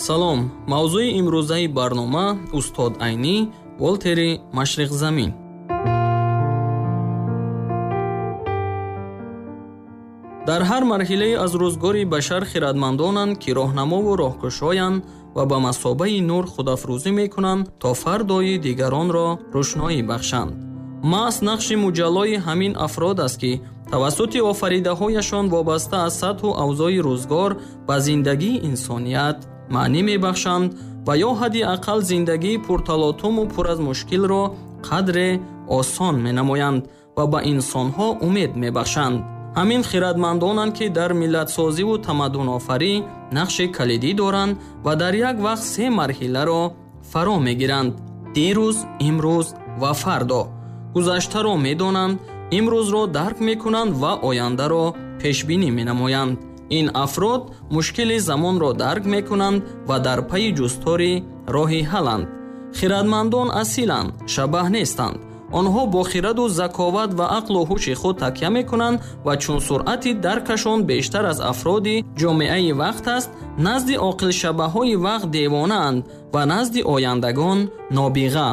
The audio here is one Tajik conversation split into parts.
Салом, мавзӯи имрӯзаи барнома устод Айнӣ, Волтери Машриқзамин. Дар ҳар марҳилае аз рӯзгори башар хирадмандонанд, ки роҳнамову роҳкушоянд ва ба масобаи нур худафрӯзӣ мекунанд, то фардои дигаронро рӯшноӣ бахшанд. Маҳз нақши муҷаллои ҳамин афрод аст, ки тавассути офаридаҳояшон вобаста аз сатҳу авзои рӯзгор ба зиндагии инсоният маънӣ мебахшанд ва ё ҳадди ақал зиндагии пурталотуму пур аз мушкилро қадре осон менамоянд ва ба инсонҳо умед мебахшанд. Ҳамин хирадмандонанд, ки дар миллатсозиву тамаддунофарӣ нақши калидӣ доранд ва дар як вақт се марҳиларо фаро мегиранд: дирӯз, имрӯз ва фардо. Гузаштаро медонанд, имрӯзро дарк мекунанд ва ояндаро пешбинӣ менамоянд. Ин афрод мушкили замонро дарк мекунанд ва дар пайи ҷустори роҳи ҳалланд. Хирадмандон асиланд, шабаҳ нестанд. Онҳо бо хираду заковат ва ақлу ҳуши худ такя мекунанд ва чун суръати даркашон бештар аз афроди ҷомеаи вақт аст, назди оқилшабаҳои вақт девонаанд ва назди ояндагон нобиға.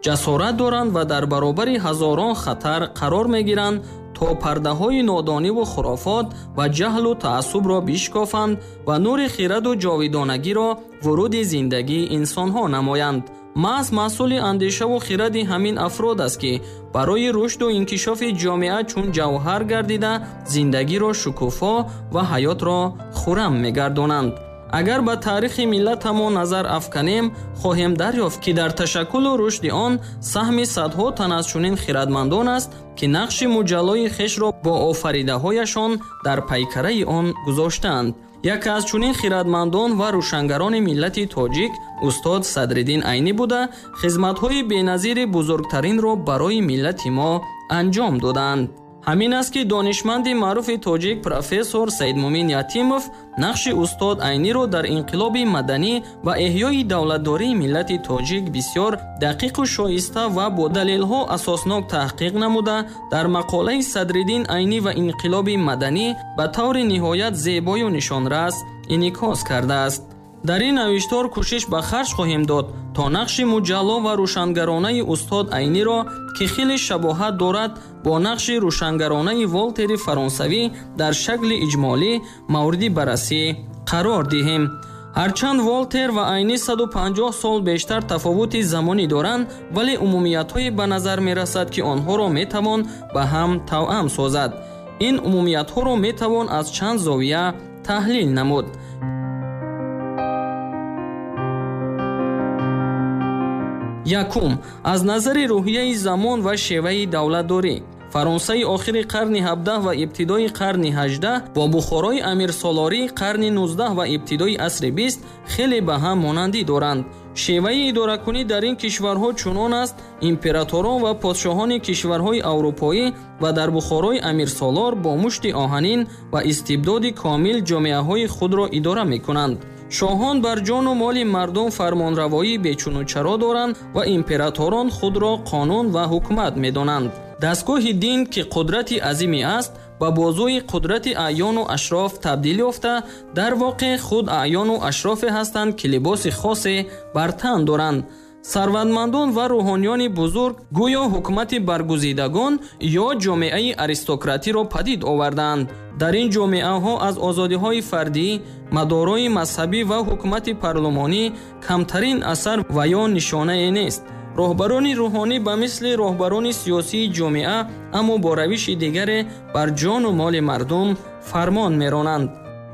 Ҷасорат доранд ва дар баробари ҳазорон хатар қарор мегиранд, то пардаҳои нодониву хурофот ва ҷаҳлу таассубро бишкофанд ва нури хираду ҷовидонагиро вуруди зиндагии инсонҳо намоянд. Маҳз маҳсули андешаву хиради ҳамин афрод аст, ки барои рушду инкишофи ҷомеа чун ҷавҳар гардида зиндагиро шукуфо ва ҳаётро хуррам мегардонанд. Агар ба таърихи миллатамон назар афканем, хоҳем дарёфт, ки дар ташаккулу рушди он саҳми садҳо тан аз чунин хирадмандон аст, ки нақши муҷаллои хешро бо офаридаҳояшон дар пайкараи он гузоштаанд. Яке аз чунин хирадмандон ва рӯшангарони миллати тоҷик устод Садриддин Айнӣ буда, хизматҳои беназири бузургтаринро барои миллати мо анҷом додаанд. Ҳамин аст, ки донишманди маъруфи тоҷик профессор Саидмумин Ятимов нақши устод Айниро дар инқилоби маданӣ ва эҳёи давлатдории миллати тоҷик бисёр дақиқу шоиста ва бо далелҳо асоснок таҳқиқ намуда, дар мақолаи Садриддин Айнӣ ва инқилоби маданӣ ба таври ниҳоят зебою нишонрас инъикос кардааст. Дар ин навиштор кӯшиш ба харҷ хоҳем дод, то нақши муҷалло ва рӯшангаронаи устод Айниро, ки хеле шабоҳат дорад бо нақши рӯшангаронаи Волтери фаронсавӣ дар шакли иҷмолӣ мавриди баррасӣ қарор диҳем. Ҳарчанд Волтер ва Айнӣ 150 сол бештар тафовути замонӣ доранд, вале умумиятҳое ба назар мерасад, ки онҳоро метавон ба ҳам тавъам созад. Ин умумиятҳоро метавон аз чанд зовия таҳлил намуд. Якум, аз назари рӯҳияи замон ва шеваи давлатдорӣ. Фаронсаи охири қарни 17 ва ибтидои қарни 18 бо Бухорои амирсолории қарни 19 ва ибтидои асри 20 хеле ба ҳам монандӣ доранд. Шеваи идоракунӣ дар ин кишварҳо чунон аст, императорон ва подшоҳони кишварҳои аврупоӣ ва дар Бухорои амирсолор бо мушти оҳанин ва истибдоди комил ҷомеаҳои худро идора мекунанд. Шоҳон бар ҷону моли мардум фармонравоии бечуну чаро доранд ва императорон худро қонун ва ҳукумат медонанд. Дастгоҳи дин, ки қудрати азиме аст, ба бозуи қудрати аъёну ашроф табдил ёфта, дар воқеъ худ аъёну ашрофе ҳастанд, ки либоси хосе бар тан доранд. Сарватмандон ва рӯҳониёни бузург гӯё ҳукумати баргузидагон ё ҷомеаи аристократиро падид овардаанд. Дар ин ҷомеаҳо аз озодиҳои фардӣ, мадорои мазҳабӣ ва ҳукумати парлумонӣ камтарин асар ва ё нишонае нест. Роҳбарони рӯҳонӣ ба мисли роҳбарони сиёсии ҷомеа, аммо бо равиши дигаре бар ҷону моли мардум фармон меронанд.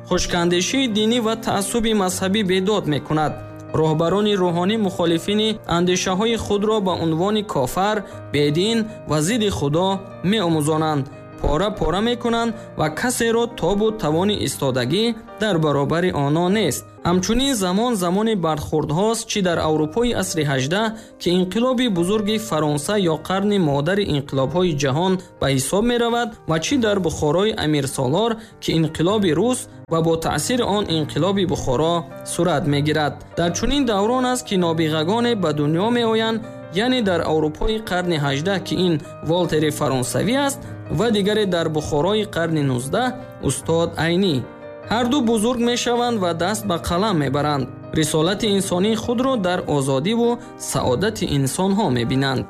Хушкандешии динӣ ва таассуби мазҳабӣ бедод мекунад. Роҳбарони рӯҳонӣ мухолифини андешаҳои худро ба унвони кофар, бедин ва зидди Худо меомӯзонанд, пора-пора мекунанд ва касеро тобу тавони истодагӣ дар баробари онон нест. Ҳамчунин замон замони бархӯрдҳост, чӣ дар Аврупои асри 18, ки инқилоби бузурги Фаронса ё қарни модари инқилобҳои ҷаҳон ба ҳисоб меравад, ва чӣ дар Бухорои амирсолор, ки инқилоби рус ва бо таъсири он инқилоби Бухоро сурат мегирад. Дар чунин даврон аст, ки нобиғагоне ба дунё меоянд, яъне дар Аврупои қарни 18, ки ин Волтери фаронсавӣ аст, ва дигаре дар Бухорои қарни 19 устод Айнӣ. Ҳар ду бузург мешаванд ва даст ба қалам мебаранд. Рисолати инсонии худро дар озодиву саодати инсонҳо мебинанд.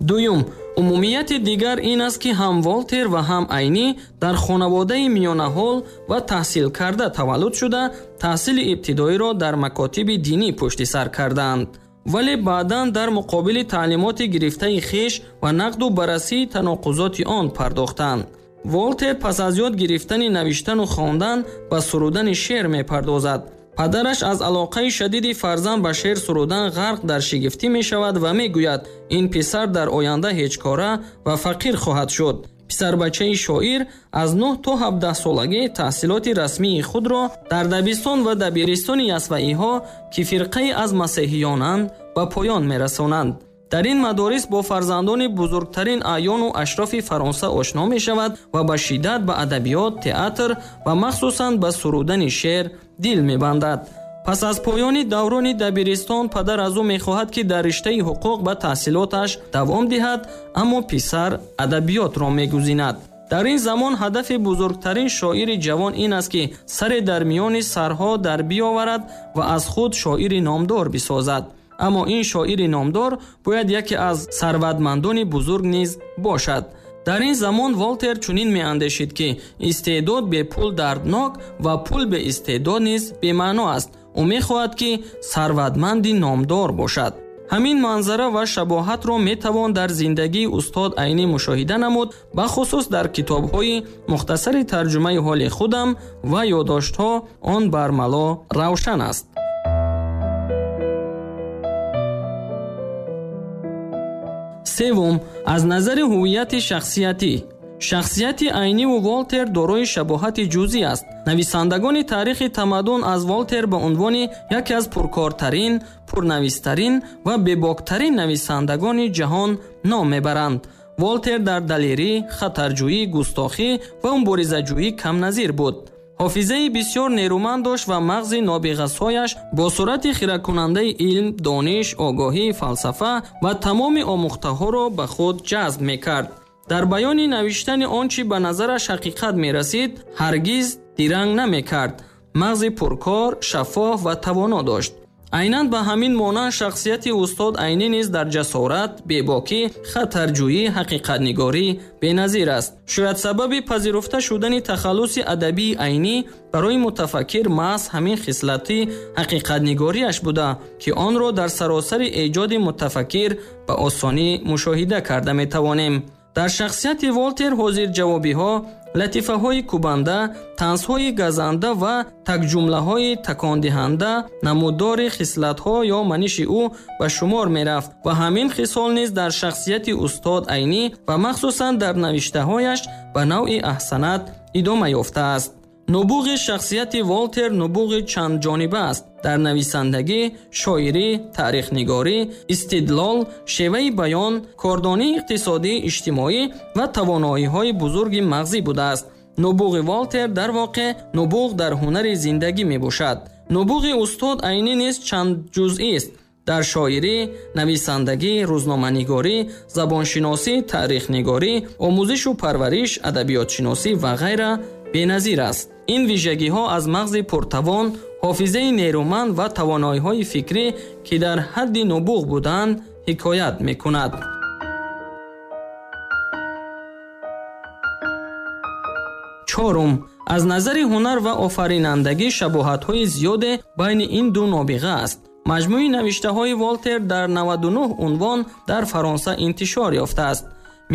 Дуюм, умумияти дигар ин аст, ки ҳам Волтер ва ҳам Айнӣ дар хонаводаи миёнаҳол ва таҳсилкарда таваллуд шуда, таҳсили ибтидоиро дар макотиби динӣ пушти сар кардаанд. Вале баъдан дар муқобили таълимоти гирифтаи хеш ва нақду баррасии таноқузоти он пардохтанд. Волтер пас аз ёд гирифтани навиштану хондан ба сурудани шеър мепардозад. Падараш аз алоқаи шадиди фарзанд ба шеър сурудан ғарқ дар шигифтӣ мешавад ва мегӯяд, ин писар дар оянда ҳеҷкора ва фақир хоҳад шуд. Писарбачаи шоир аз 9 то 17 солагӣ таҳсилоти расмии худро дар дабистон ва дабиристони ясваиҳо, ки фирқае аз масеҳиёнанд, ба поён мерасонанд. Дар ин мадорис бо фарзандони бузургтарин аъёну ашрофи Фаронса ошно мешавад ва ба шиддат ба адабиёт, театр ва махсусан ба сурудани шеър дил мебандад. Пас аз поёни даврони дабиристон падар аз ӯ мехоҳад, ки дар риштаи ҳуқуқ ба таҳсилоташ давом диҳад, аммо писар адабиётро мегузинад. Дар ин замон ҳадафи бузургтарин шоири ҷавон ин аст, ки саре дар миёни сарҳо дар биёварад ва аз худ шоири номдор бисозад. Аммо ин шоири номдор бояд яке аз сарватмандони бузург низ бошад. Дар ин замон Волтер чунин меандешид, ки истеъдод бе пул дарднок ва пул бе истеъдод низ бемаъно аст. Ӯ мехоҳад, ки сарватманди номдор бошад. Ҳамин манзара ва шабоҳатро метавон дар зиндагии устод Айнӣ мушоҳида намуд, бахусус дар китобҳои мухтасари тарҷумаи ҳоли худам ва ёддоштҳо он бармало равшан аст. Севум, аз назари ҳуввияти шахсиятӣ. Шахсияти Айниву Волтер дорои шабоҳати ҷузъӣ аст. Нависандагони таърихи тамаддун аз Волтер ба унвони яке аз пуркортарин, пурнавистарин ва бебоктарин нависандагони ҷаҳон ном мебаранд. Волтер дар далерӣ, хатарҷӯӣ, густохӣ ва муборизаҷӯӣ камназир буд. Ҳофизаи бисёр нерӯманд дошт ва мағзи нобиғасояш бо суръати хиракунандаи илм, дониш, огоҳӣ, фалсафа ва тамоми омӯхтаҳоро ба худ ҷазб мекард. Дар баёни навиштани он чӣ ба назараш ҳақиқат мерасид, ҳаргиз диранг намекард. Мағзи пуркор, шаффоф ва тавоно дошт. Айнан ба ҳамин монанд шахсияти устод Айнӣ низ дар ҷасорат, бебокӣ, хатарҷӯӣ, ҳақиқатнигорӣ беназир аст. Шояд сабаби пазируфта шудани тахаллуси адабии Айнӣ барои мутафаккир маҳз ҳамин хислати ҳақиқатнигориаш буда, ки онро дар саросари эҷоди мутафаккир ба осонӣ мушоҳида карда метавонем. Дар шахсияти Волтер ҳозирҷавобиҳо, латифаҳои кӯбанда, танзҳои газанда ва такҷумлаҳои такондиҳанда намуддори хислатҳо ё маниши ӯ ба шумор мерафт ва ҳамин хисол низ дар шахсияти устод Айнӣ ва махсусан дар навиштаҳояш ба навъи аҳсанат идома ёфтааст. Нубуғи шахсияти Волтер нубуғи чандҷониба аст. Дар нависандагӣ, шоирӣ, таърихнигорӣ, истидлол, шеваи баён, кордонии иқтисодӣ, иҷтимоӣ ва тавоноиҳои бузурги мағзӣ будааст. Нубуғи Волтер дар воқеъ нубуғ дар ҳунари зиндагӣ мебошад. Нубуғи устод Айнӣ низ чандҷузъист. Дар шоирӣ, нависандагӣ, рӯзноманигорӣ, забоншиносӣ, таърихнигорӣ, омӯзишу парвариш, адабиётшиносӣ ва ғайра беназир аст. Ин вижагиҳо аз мағзи пуртавон, ҳофизаи нерӯманд ва тавоноиҳои фикрӣ, ки дар ҳадди нубуғ буданд, ҳикоят мекунад. Чорум, аз назари ҳунар ва офаринандагӣ шабоҳатҳои зиёде байни ин ду нобиға аст. Маҷмӯи навиштаҳои Волтер дар 99 унвон дар Фаронса интишор ёфтааст.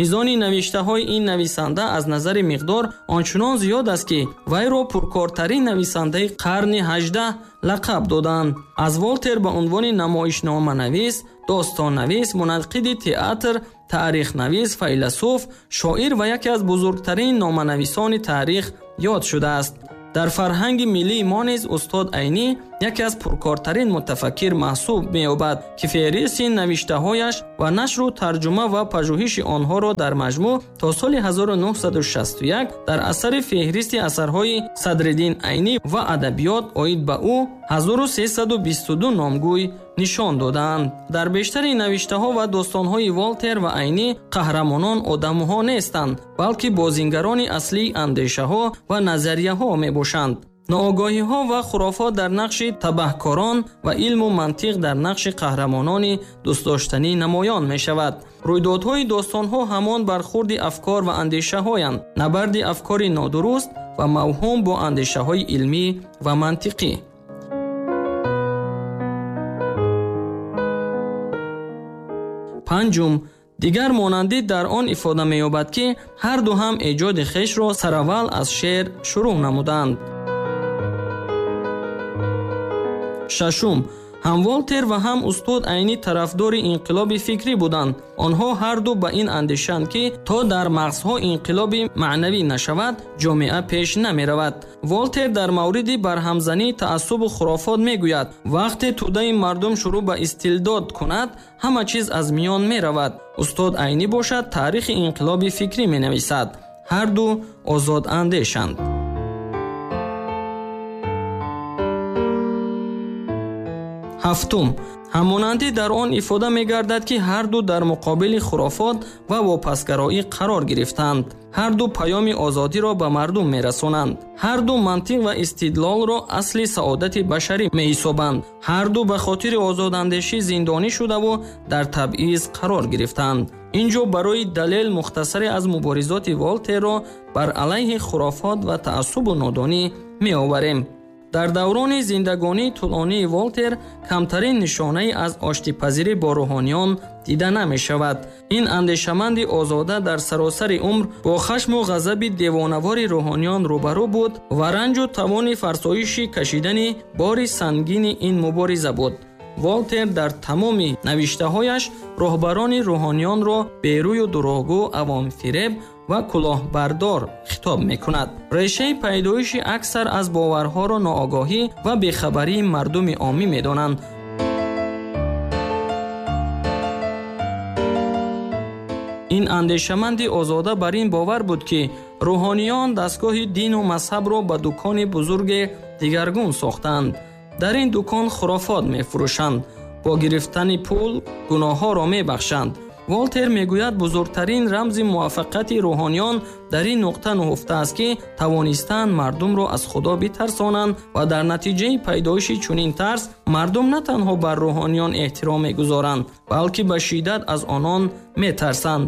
Мизони навиштаҳои ин нависанда аз назари миқдор ончунон зиёд аст, ки вайро пуркортарин нависандаи қарни 18 лақаб доданд. Аз Волтер ба унвони намоишноманавис, достоннавис, мунаққиди театр, таърихнавис, файласуф, шоир ва яке аз бузургтарин номанависони таърих ёд шудааст. Дар фарҳанги миллии мо низ устод Айнӣ яке аз пуркортарин мутафаккир маҳсуб меёбад, ки феҳристи навиштаҳояш ва нашру тарҷума ва пажӯҳиши онҳоро дар маҷмӯъ то соли 1961 дар асари феҳристи асарҳои Садриддин Айнӣ ва адабиёт оид ба ӯ 1322 номгӯй нишон додаанд. Дар бештари навиштаҳо ва достонҳои Волтер ва Айнӣ қаҳрамонон одамҳо нестанд, балки бозингарони аслии андешаҳо ва назарияҳо мебошанд. Ноогоҳиҳо ва хурофот дар нақши табаҳкорон ва илму мантиқ дар нақши қаҳрамонони дӯстдоштанӣ намоён мешавад. Рӯйдодҳои достонҳо ҳамон бархурди афкор ва андешаҳоянд, набарди афкори нодуруст ва мавҳум бо андешаҳои илмӣ ва мантиқӣ. Панҷум, дигар монандӣ дар он ифода меёбад, ки ҳар ду ҳам эҷоди хешро сараввал аз шеър шурӯъ намуданд. Шашум, ҳам Волтер ва ҳам устод Айнӣ тарафдори инқилоби фикрӣ буданд. Онҳо ҳар ду ба ин андешанд, ки то дар мағзҳо инқилоби маънавӣ нашавад, ҷомеа пеш намеравад. Волтер дар мавриди барҳамзании таассубу хурофот мегӯяд: вақте тӯдаи мардум шурӯъ ба истилдод кунад, ҳама чиз аз миён меравад. Устод Айнӣ бошад, таърихи инқилоби фикрӣ менависад. Ҳар ду озодандешанд. Ҳафтум, ҳамонандӣ дар он ифода мегардад, ки ҳар ду дар муқобили хурофот ва вопасгароӣ қарор гирифтанд. Ҳар ду паёми озодиро ба мардум мерасонанд. Ҳар ду мантиқ ва истидлолро асли саодати башарӣ меҳисобанд. Ҳар ду ба хотири озодандешӣ зиндонӣ шудаву дар табъиз қарор гирифтанд. Инҷо барои далел мухтасаре аз муборизоти Волтерро бар алайҳи хурофот ва таассубу нодонӣ меоварем. Дар даврони зиндагонии тӯлонии Волтер камтарин нишонае аз оштипазирӣ бо рӯҳониён дида намешавад. Ин андешаманди озода дар саросари умр бо хашму ғазаби девонавори рӯҳониён рӯбарӯ буд ва ранҷу тавони фарсоиши кашидани бори сангини ин мубориза буд. Волтер дар тамоми навиштаҳояш роҳбарони рӯҳониёнро берӯю дурӯғгӯ, авомфиреб ва кулоҳбардор хитоб мекунад. Решаи пайдоиши аксар аз боварҳоро ноогоҳӣ ва бехабарии мардуми оммӣ медонанд. Ин андешаманди озода бар ин бовар буд, ки рӯҳониён дастгоҳи дину мазҳабро ба дукони бузурге дигаргун сохтанд. Дар ин дукон хурофот мефурӯшанд, бо гирифтани пул гуноҳҳоро мебахшанд. Волтер мегӯяд, бузургтарин рамзи муваффақияти рӯҳониён дар ин нуқта нуҳуфта аст, ки тавонистаанд мардумро аз Худо битарсонанд ва дар натиҷаи пайдоиши чунин тарс мардум на танҳо бар рӯҳониён эҳтиром мегузоранд, балки ба шиддат аз онон метарсанд.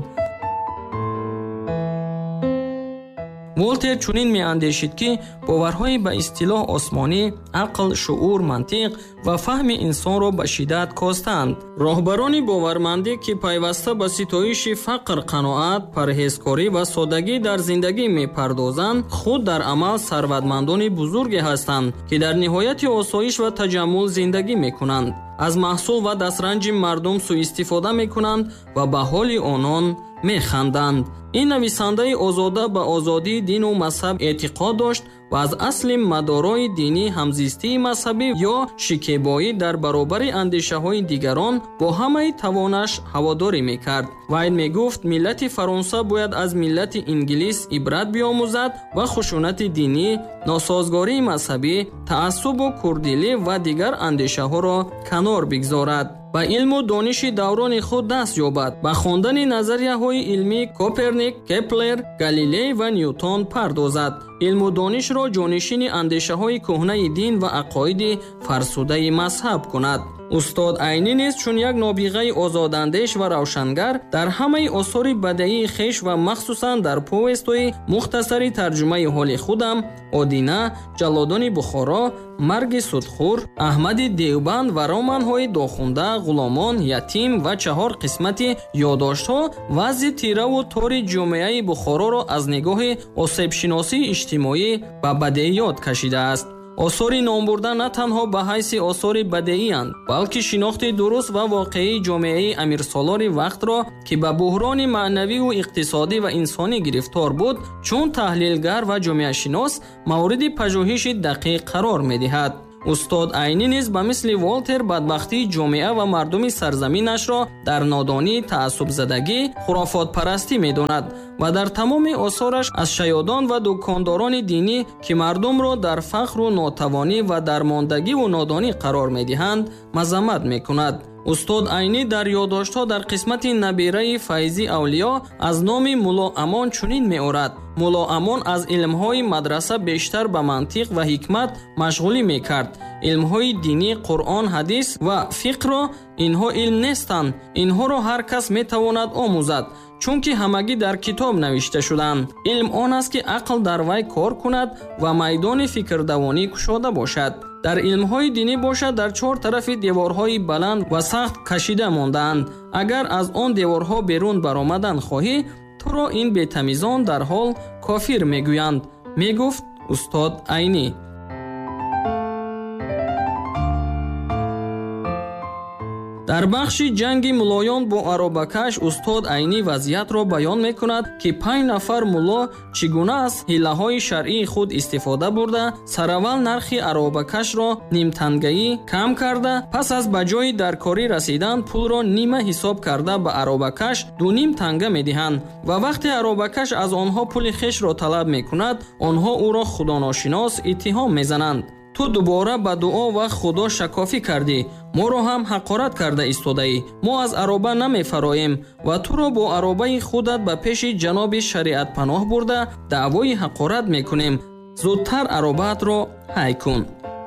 Волтер чунин меандешид, ки боварҳои ба истилоҳ осмонӣ ақл, шуур, мантиқ ва фаҳми инсонро ба шиддат костанд. Роҳбарони бовармандӣ, ки пайваста ба ситоиши фақр, қаноат, парҳезкорӣ ва содагӣ дар зиндагӣ мепардозанд, худ дар амал сарватмандони бузурге ҳастанд, ки дар ниҳояти осоиш ва таҷаммул зиндагӣ мекунанд, аз маҳсул ва дастранҷи мардум суистифода мекунанд ва ба ҳоли онон механданд. Ин нависандаи озода ба озодии дину мазҳаб эътиқод дошт ва аз асли мадорои динӣ ҳамзистии мазҳабӣ ё шикебоӣ дар баробари андешаҳои дигарон бо ҳамаи тавонаш ҳаводорӣ мекард. Вай мегуфт, миллати Фаронса бояд аз миллати Инглис ибрат биомӯзад ва хушунати динӣ, носозгории мазҳабӣ, таассубу курдилӣ ва дигар андешаҳоро канор бигзорад, ба илму дониши даврони худ даст ёбад, ба хондани назарияҳои илмии Коперник, Кеплер, Галилей ва Ньютон пардозад, илму донишро ҷонишини андешаҳои кӯҳнаи дин ва ақоиди фарсудаи мазҳаб кунад. Устод Айнӣ низ чун як нобиғаи озодандеш ва равшангар дар ҳамаи осори бадеии хеш ва махсусан дар повестҳои мухтасари тарҷумаи ҳоли худам, Одина, Ҷаллодони Бухоро, Марги судхӯр, Аҳмади Девбанд ва романҳои Дохунда, Ғуломон, Ятим ва чаҳор қисмати ёдоштҳо вазъи тираву тори ҷомеаи Бухороро аз нигоҳи осебшиносии иҷтимоӣ ба бадеиёт кашидааст. Осори номбурда на танҳо ба ҳайси осори бадеиянд, балки шинохти дуруст ва воқеии ҷомеаи амирсолори вақтро, ки ба буҳрони маънавиву иқтисодӣ ва инсонӣ гирифтор буд, чун таҳлилгар ва ҷомеашинос мавриди пажӯҳиши дақиқ қарор медиҳад. Устод Айнӣ низ ба мисли Волтер бадбахтии ҷомеа ва мардуми сарзаминашро дар нодонӣ, таассубзадагӣ, хурофотпарастӣ медонад ва дар тамоми осораш аз шаёдон ва дукондорони динӣ, ки мардумро дар фақру нотавонӣ ва дармондагиву нодонӣ қарор медиҳанд, мазаммат мекунад. Устод Айнӣ дар ёддоштҳо дар қисмати набираи Файзӣ Авлиё аз номи Мулло Амон чунин меорад: Мулло Амон аз илмҳои мадраса бештар ба мантиқ ва ҳикмат машғулӣ мекард. Илмҳои динӣ, Қуръон, ҳадис ва фиқҳро инҳо илм нестанд. Инҳоро ҳар кас метавонад омӯзад, чунки ҳамагӣ дар китоб навишта шудаанд. Илм он аст, ки ақл дар вай кор кунад ва майдони фикрдавонӣ кушода бошад. Дар илмҳои динӣ бошад, дар чор тарафи деворҳои баланд ва сахт кашида мондаанд. Агар аз он деворҳо берун баромадан хоҳӣ, туро ин бетамизон дар ҳол кофир мегӯянд, мегуфт устод Айнӣ. Дар бахши ҷанги муллоён бо аробакаш устод Айнӣ вазъиятро баён мекунад, ки 5 нафар мулло чӣ гуна аз ҳилаҳои шаръии худ истифода бурда, сараввал нархи аробакашро нимтангаӣ кам карда, пас аз ба ҷои даркорӣ расидан пулро нима ҳисоб карда ба аробакаш 2.5 танга медиҳанд ва вақте аробакаш аз онҳо пули хешро талаб мекунад, онҳо ӯро худоношинос иттиҳом мезананд. Ту дубора ба дуо ва худо шакофӣ кардӣ, моро ҳам ҳақорат карда истодаӣ. Мо аз ароба намефароем ва туро бо аробаи худат ба пеши ҷаноби шариатпаноҳ бурда даъвои ҳақорат мекунем. Зудтар аробаатро ҳай кун.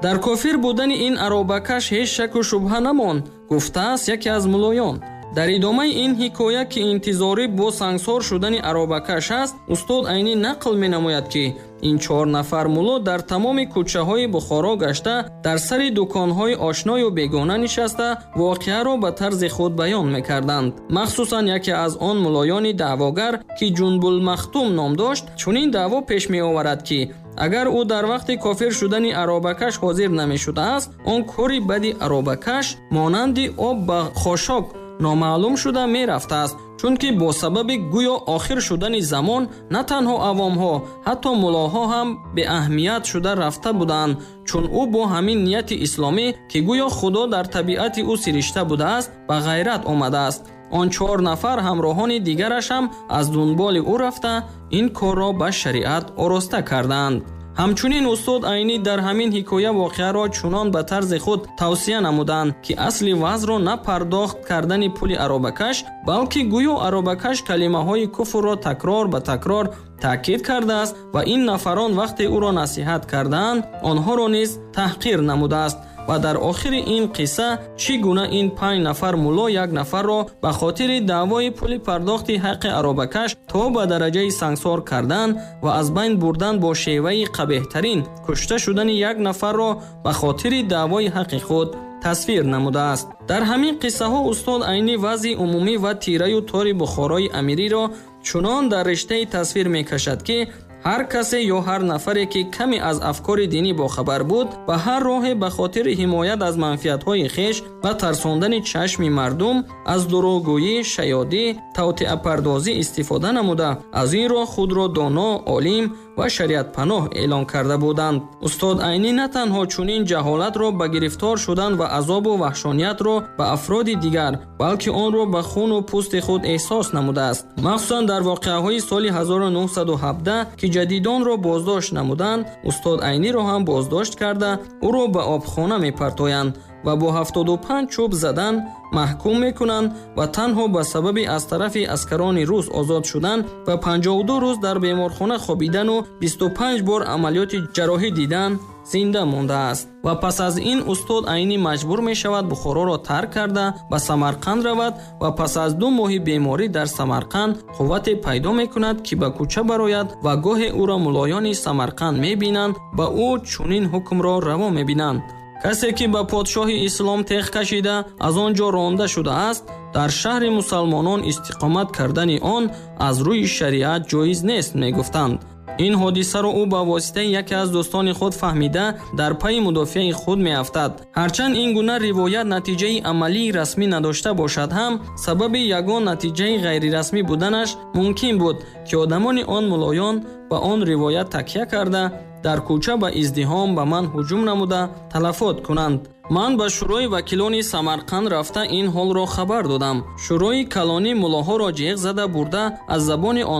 Дар кофир будани ин аробакаш ҳеҷ шаку шубҳа намонд, гуфтааст яке аз муллоён. Дар идомаи ин ҳикоя, ки интизорӣ бо сангсор шудани аробакаш аст, устод Айнӣ нақл менамояд, ки ин 4 нафар мулло дар тамоми кӯчаҳои Бухоро гашта, дар сари дуконҳои ошною бегона нишаста, воқеаро ба тарзи худ баён мекарданд. Махсусан яке аз он муллоёни даъвогар, ки Ҷунбулмахтум ном дошт, чунин даъво пеш меоварад, ки агар ӯ дар вақти кофир шудани аробакаш ҳозир намешудааст, он кори бади аробакаш монанди об ба хошок номаълум шуда мерафтааст, чунки бо сабаби гӯё охир шудани замон на танҳо авомҳо, ҳатто муллоҳо ҳам беаҳамият шуда рафта буданд, чун ӯ бо ҳамин нияти исломӣ, ки гӯё Худо дар табиати ӯ сиришта будааст, ба ғайрат омадааст. Он 4 нафар ҳамроҳони дигараш ҳам аз дунболи ӯ рафта ин корро ба шариат ороста кардаанд. Ҳамчунин устод Айнӣ дар ҳамин ҳикоя воқеаро чунон ба тарзи худ тавсия намуданд, ки асли вазъро на пардохт кардани пули аробакаш, балки гӯё аробакаш калимаҳои куфрро такрор ба такрор таъкид кардааст ва ин нафарон вақте ӯро насиҳат кардаанд, онҳоро низ таҳқир намудааст. Ва дар охири ин қисса чӣ гуна ин 5 нафар мулло як нафарро ба хотири даъвои пули пардохти ҳаққи аробакаш то ба дараҷаи сангсор кардан ва аз байн бурдан бо шеваи қабеҳтарин кушта шудани як нафарро ба хотири даъвои ҳаққи худ тасвир намудааст. Дар ҳамин қиссаҳо устод Айнӣ вазъи умумӣ ва тираю тори Бухорои амириро чунон дар риштаи тасвир мекашад, ки ҳар касе ё ҳар нафаре, ки каме аз афкори динӣ бохабар буд, ба ҳар роҳе ба хотири ҳимоят аз манфиатҳои хеш ва тарсондани чашми мардум аз дурӯғгӯӣ, шаёдӣ, тавтиапардозӣ истифода намуда, аз ин роҳ худро доно, олим ва шариатпаноҳ эълон карда буданд. Устод Айнӣ на танҳо чунин ҷаҳолатро ба гирифтор шудан ва азобу ваҳшониятро ба афроди дигар, балки онро ба хуну пӯсти худ эҳсос намудааст. Махсусан дар воқеаҳои соли 1917, ки ҷадидонро боздошт намуданд, устод Айниро ҳам боздошт карда, ӯро ба обхона мепартоянд ва бо 75 чӯб задан маҳкум мекунанд ва танҳо ба сабаби аз тарафи аскарони рус озод шудан ва 52 рӯз дар беморхона хобидану 25 бор амалиёти ҷарроҳӣ дидан зинда мондааст. Ва пас аз ин устод Айнӣ маҷбур мешавад Бухороро тарк карда ба Самарқанд равад ва пас аз 2 моҳи беморӣ дар Самарқанд қуввате пайдо мекунад, ки ба кӯча барояд ва гоҳе ӯро муллоёни Самарқанд мебинанд ва ӯ чунин ҳукмро раво мебинанд: касе ки ба подшоҳи ислом теғ кашида аз он ҷо ронда шудааст, дар шаҳри мусалмонон истиқомат кардани он аз рӯи шариат ҷоиз нест, мегуфтанд. Ин ҳодисаро ӯ ба воситаи яке аз дӯстони худ фаҳмида дар пайи мудофиаи худ меафтад. Ҳарчанд ин гуна ривоят натиҷаи амалии расмӣ надошта бошад ҳам, сабаби ягон натиҷаи ғайрирасмӣ буданаш мумкин буд, ки одамони он муллоён ба он ривоят такя карда Дар кӯча ба издиҳом ба ман ҳуҷум намуда талафот кунанд. Ман ба шӯрои вакилони Самарқанд рафта ин ҳолро хабар додам. Шӯрои калонӣ муллоҳоро ҷеғ зада бурда аз забони